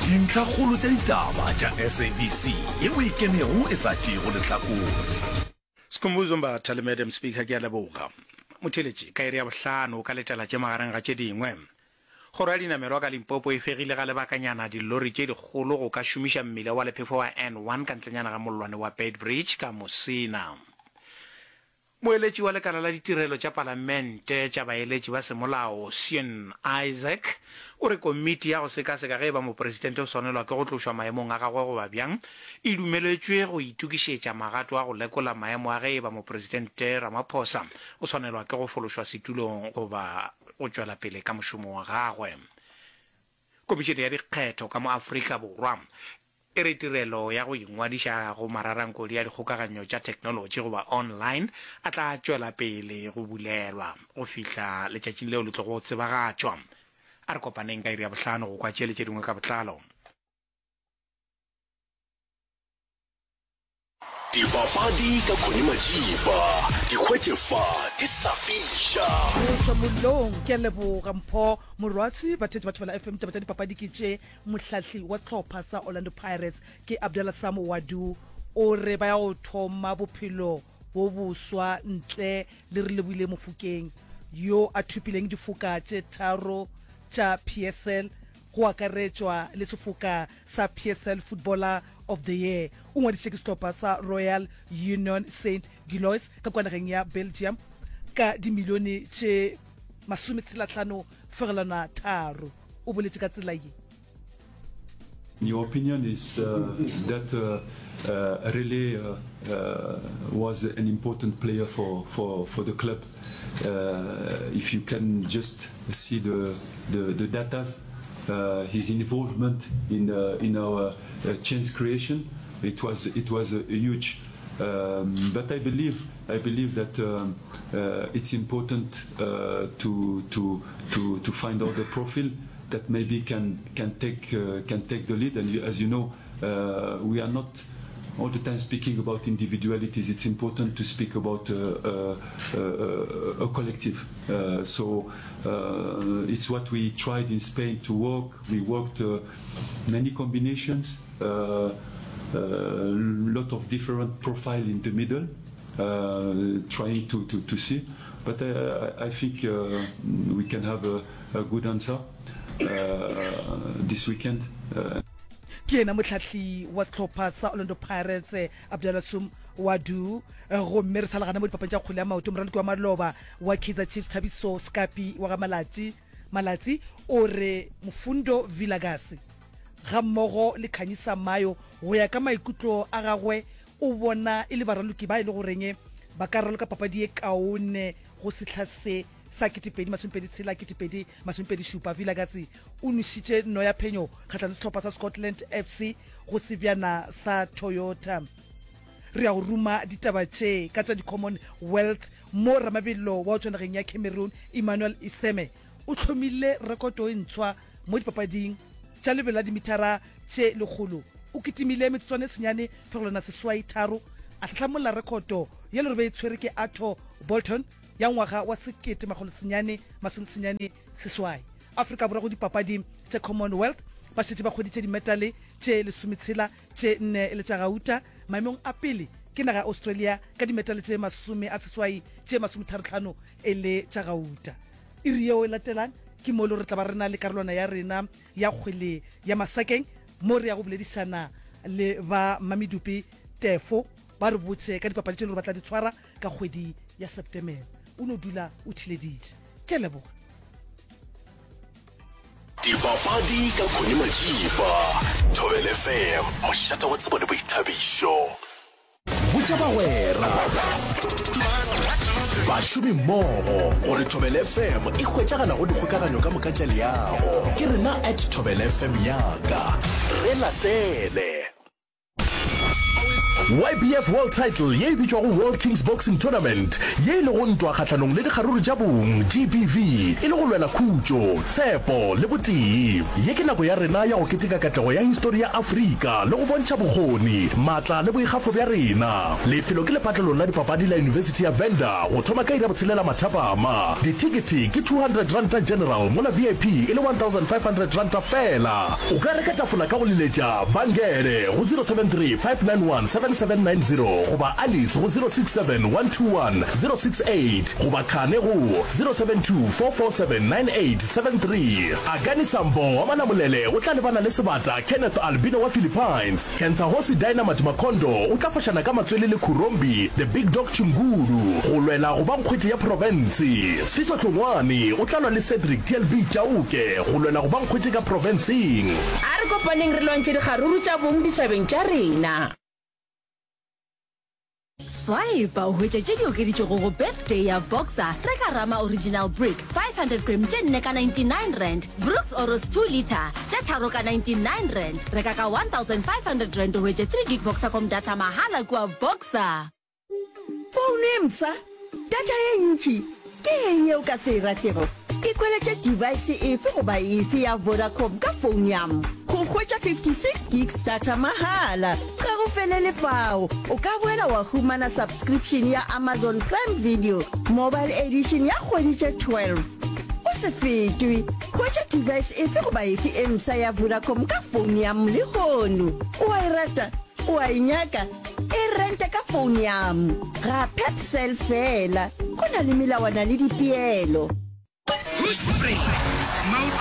Dintlhakgolo tša ditaba tša SABC yeo e kenego e sa tšeego lehlakore. Skhumbuzo Mbatha le Madam Speaker ke a leboga. Motheeletši, ka iri ya bohlano o ka letela tše magareng ga tše dingwe. Kgoro ya dinamelwa ka Limpopo e fegile ga lebakanyana dillori tše dikgolo go ka šomiša mmila wa lephefo wa N1 ka ntlenyana ga mollwane wa Beitbridge ka Musina. Moeletši wa lekala la ditirelo tša palamente tša baeletši ba semolao, Sean Isaac, o re komiti ya go sekaseka ge e ba mopresidente o swanelwa ke go tlošwa maemong a gagwe goba bjang e dumeletšwe go itokišetša magato a go lekola maemo a ge e ba mopresidente Ramaphosa o swanelwa ke go fološwa setulong goba go tšwela pele ka mošomo wa gagwe. Komišene ya Dikgetho ka mo Afrika Borwa e re tirelo ya go ingwadiša go mararankodi a dikgokaganyo tša theknolotši goba online a tla tšwela pele go bulelwa go fihla letšatšing leo le tlogo tsebagatšwa. A re kopaneng ka iri ya bohlano go kwa tše le tše dingwe ka botlalo. Dipapadi ka Connie Majiba, di hwetše fa di sa fiša. Go tšwa mollong, ke a leboga Mpho Morwatsi. Batheetši ba Thobela FM, ditaba tša dipapadi ke tše. Mohlahli wa sehlopha sa Orlando Pirates ke Abdallah Sam Ouaddou o re ba ya go thoma bophelo bo boswa ntle le Relebohile Mofokeng yo a thopileng difoka tše tharo tša PSL go akaretšwa le sefoka sa PSL Footballer of the Year. O ngwadišitše ke sehlopha sa Royal Union Saint Gilloise ka kua nageng ya Belgium ka dimilione tše masometshelahlano fegelwana tharo. O boletše ka tsela ye. Your opinion is that Rele was an important player for for for the club. If you can just see the the the datas, his involvement in in our chance creation, it was it was huge. But I believe I believe that it's important to to to to find other profile that maybe can can take can take the lead. And as you know, we are not all the time speaking about individualities. It's important to speak about a, a, a, a collective. Uh, so uh, it's what we tried in Spain to work. We worked uh, many combinations, a lot of different profile in the middle, trying to, to, to see. But I, I think we can have a, a good answer this weekend. Ke yena mohlahli wa sehlopha sa Orlando Pirates, Abdallah Sum Ouaddou. Gomme re sa le gana mo dipapading tša kgwele ya maoto, moraloki wa maloba wa Kaizer Chiefs, Thabiso Sekapi wa ga Malatsi, Malatsi o re Mfundo Vilakazi gammogo le Khanyisa Mayo go ya ka maikutlo a gagwe o bona e le baraloki ba e le goreng ba ka raloka papadi ye kaone go sehla se sa 2026, 2027. Vilakazi o nwešitše nno ya phenyo kgahlanong le sehlopha sa Scotland FC go sebjana sa Toyota. Re ya go ruma ditaba tše ka tša di-Common Wealth mo ramabelo wa go tšwa nageng ya Cameroon Emmanuel Iseme o hlomile rekoto e ntshwa mo dipapading tša lebelo la dimithara tše lekgolo. O kitimile metsotswana e senyane fegelwana seswai tharo a hlahlamolla rekhoto ye le gore be e tshwere ke Arthur Bolton ya ngwaga wa 1998. Afrika Borwa go dipapadi tša Commonwealth ba šetše ba hweditše dimetale tše lesometshela, tše nne e le tša gauta. Maemong a pele ke naga ya Australia ka dimetale tše masome a seswai, tše masometharohlano e le tša gauta. Iri yeo e latelang ke mo e le gore re tla ba re na le karolwana ya rena ya kgwele ya masakeng mo re ya go boledišana le ba Mmamedupi Tefo ba re botše ka dipapadi tše e le gore ba tla di tshwara ka kgwedi ya Septemere. O no dula o thileditše. Ke a leboga. Dipapadi ka Connie Majiba, Thobela FM, mošate wa tsebo le boithabišo. Botša bagwera, bašomimmogo gore Thobela FM e hwetšagala go dikgokaganyo ka moka tša leago. Ke rena at Thobela FM yaka. Re latele. YBF World Title ye e bitšwago World Kings Boxing Tournament, ye e lego ntwa kgahlanong le dikgaruru tša bong, GBV, e le go lwela khutšo, tshepo le botee. Ye ke nako ya rena ya go keteka katlego ya histori ya Afrika le go bontšha bokgoni, maatla le boikgafo bja rena. Lefelo ke lepatlelong la dipapadi la Yunibesithi ya Venda go thoma ka iri ya botshelela mathapama. Dithekethe ke R200 General mola VIP e le R1500 feela. O ka reka tafola ka go leletša Vangele go 073 591 7790 goba Alice go 067 121 068 goba Khane go 072 447 9873. Akani Sambo wa Malamulele o tla lebana le sebata Kenneth Albino wa Philippines. Kentsahosi Dynamite Makondo o tla fošana ka matswele le Khurombi The Big Dog Chingulu go lwela go ba nkgwete ya profense. Sfiso Hlongwane o tla lwa le Cedric TLB Chauke go lwela go ba nkgwete ka profenseng. A re kopaneng re lwantšhe dikgaruru tša bong ditšhabeng tša rena. Swipe o hwetše tše di okeditšwego go Birthday ya Boxer. Reka Rama Original Brick 500 gram tše nne ka R99, Brooks Oros 2 litre tše tharo ka R99. Reka ka R1500 o hwetše 3 gig Boxercom data mahala kua Boxer. Founo e mpsha, data ye ntši, ke eng ye o ka se e ratego? Ikhweletše device efe goba efe ya Vodacom ka phone ya go hwetša 56 gigs data mahala. Ga go felele fao, o ka boela wa humana subscription ya Amazon Prime Video Mobile Edition ya kgwedi tše 12. O se fetwe! Hwetša device efe goba efe e mpsha ya Vodacom ka phone ya lehono. O a e rata? O a e nyaka? E rente ka phone ya ga Pepcell fela. Go na le melawana le dipeelo. Hoedspruit, Mount.